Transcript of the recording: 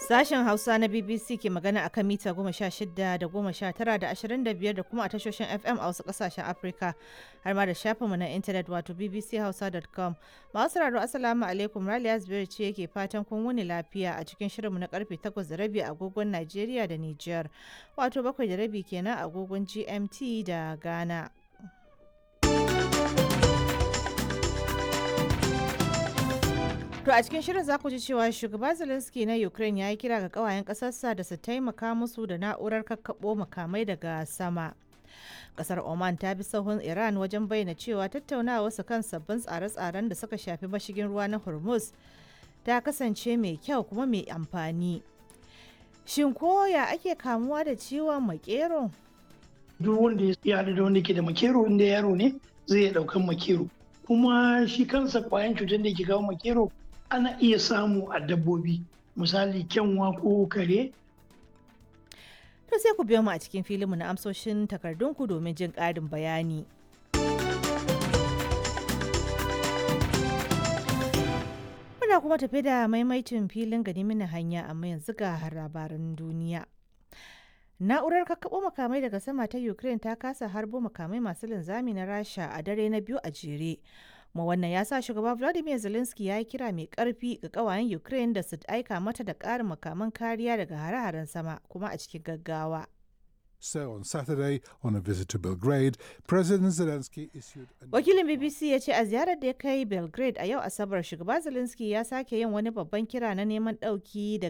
Sashen Hausa na BBC ke magana a kan mita 16 da 19 da 25 da kuma a tashoshin FM a wasu kasashen Afirka har ma da shafinmu na intanet wato bbchausa.com. Masu sauraro, Assalamu alaikum, Raliya Zubairu ce yake fatan kun wuni lafiya a cikin shirinmu na karfe 8:30 agogon Najeriya da Nijar, wato 7:30 kenan agogon GMT da Ghana. To a cikin shirin za ku ji cewa shugaba Zelensky na Ukraine ya yi kira ga kawayen ƙasarsa da su taimaka musu da na'urar kakkaɓo makamai daga sama. Kasar Oman ta bi sahun Iran wajen bayyana cewa tattaunawa su kan sabbin tsare-tsaren da suka shafi mashigin ruwa na Hormuz ta kasance mai kyau kuma mai amfani. Shin koya ake kamuwa da ciwon makero? Duk wanda ya haɗu da wanda ke da makero, inda yaro ne, zai iya ɗaukan makero. Kuma shi kansa kwayan cutar da ke kawo makero ana iya samu a dabbobi, misali kyanwa ko kare. To sai ku biyo mu a cikin filinmu na amsoshin takardunku domin jin ƙarin bayani. Muna kuma tafi da maimaitin filin gani mini hanya, amma yanzu ga labaran duniya. Na'urar kakkaɓo makamai daga sama ta Ukraine ta kasa harbo makamai masu linzami na Rasha a dare na biyu a jere. Kuma wannan ya sa shugaba Vladimir Zelensky ya yi kira mai karfi ga kawayen Ukraine da su aika mata da ƙarin makaman kariya daga hare-haren sama, kuma a cikin gaggawa. So on Saturday, on a visit to Belgrade, President Zelensky issued a Wakilin BBC ya ce a ziyarar da ya kai Belgrade a yau Asabar, shugaba Zelensky ya sake yin wani babban kira na neman ɗauki daga